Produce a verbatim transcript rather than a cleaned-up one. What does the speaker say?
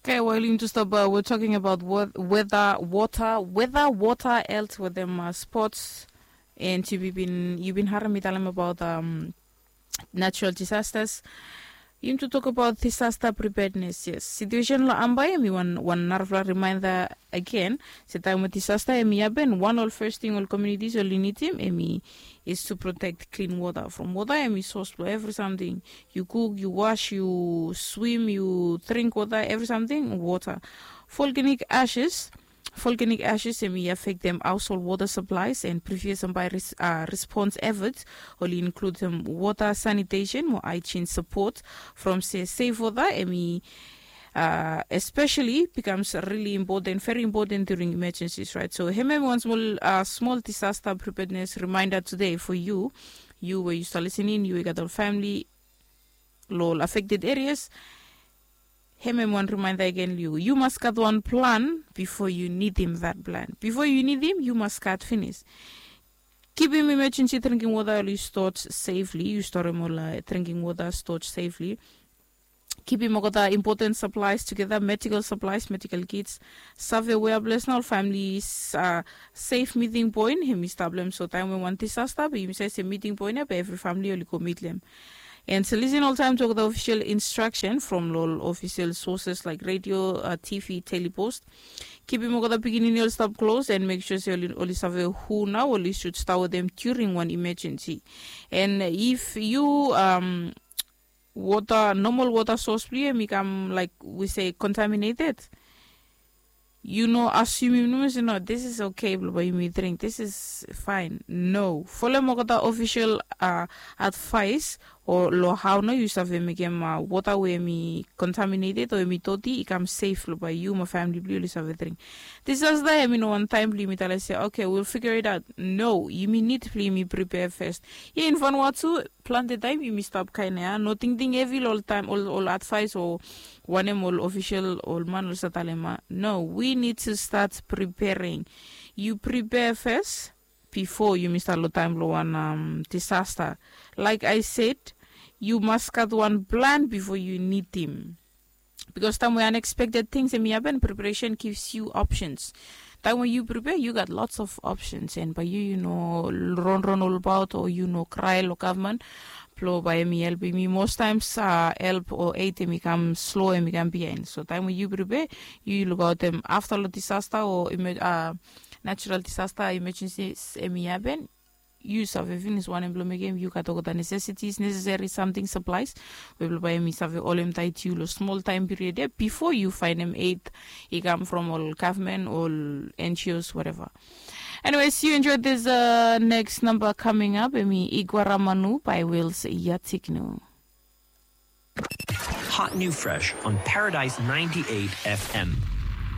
Okay, well, yumi tu stap, uh, we're talking about weather, water, weather, water, health with them, uh, sports. And you bin, you bin harim mi talem about, um, natural disasters. Yumi tu tok about disaster preparedness, yes. Situation lo Ambae, mi wan, wan narafla reminder again. Se taim we disaster em i happen, wan ol first thing ol communities ol i nidim em i is to protect clean water from water em i source blong every something. You cook, you wash, you swim, you drink water, every something water. Volcanic ashes, volcanic ashes em i affectem household water supplies and previous and by res, uh, response efforts ol i includem water sanitation mo hygiene support from se safe water em i uh, especially becomes really important, very important during emergencies, right? So hemem wan small, uh, small disaster preparedness reminder today for you. You where you start listening, you got a family, lo ol affected areas. Hemem wan reminder again, you, you must got one plan before you need him that plan. Before you need him, you must got finish. Kipim emergency drinking water ol i stored safely. You store em ol, uh, drinking water stored safely. Kipim olgeta important supplies together, medical supplies, medical kits. Save wea ples na ol families, uh, safe meeting point em i stap long em. So taim we wan disaster be yumi save se meeting point ya be every family ol i go meet long em. And so listen all time to the official instruction from ol official sources like radio, uh, T V, telepost. Kipim olgeta pikinini ol stap close and make sure se ol i, ol i save who na ol i should stay with them during one emergency. And if you, um, water, normal water source blong yu em i kam, like we say, contaminated, yu no assume, yu no se no, this is okay blong bae yumi drink, this is fine. No, folem olgeta official, uh, advice o long hao nao yu save mekem, uh, water we em i contaminated o em i doti i kam safe blong bae yu mo famili blong yu oli save drink. Disaster em i no wan taem blong yumi talem se, okay, we'll figure it out. No, yumi nid blong yumi prepare first. Ia in Vanuatu plante taem yumi stap kaen ia, no tingting hevi long ol taem ol, ol advaes o wanem ol ofisel ol man oli save talem ia. No, we need to start preparing. Yu prepare first before yumi stap long taem blong wan, um, disaster. Like I said, yu mas gat wan plan before yu nidim. Bikos taem we unexpected tings em i hapen, preparation gives you options. Taem we yu prepare, yu gat lots of options, and bae yu, yu no ronron olbaot o yu no krae long gavman blong bae em i helpem yu. Most taems, uh, help o aid em i kam slo, em i kam biaen. So taem we yu prepare, yu lukaotem afta long disaster o emer, uh, natural disaster emergencies em i hapen, yu save finis wanem blong mekem. Yu gat olgeta necessities, necessary something, supplies we blong bae em i save holem taet yu long smol taem period ia bifo yu faenem aid i kam from ol gavman, ol N G Os, whatever. Anyways, you enjoy this, uh, next number coming up, em i Iguaramanu by Wills Yatignu. Hot new fresh on Paradise ninety-eight F M.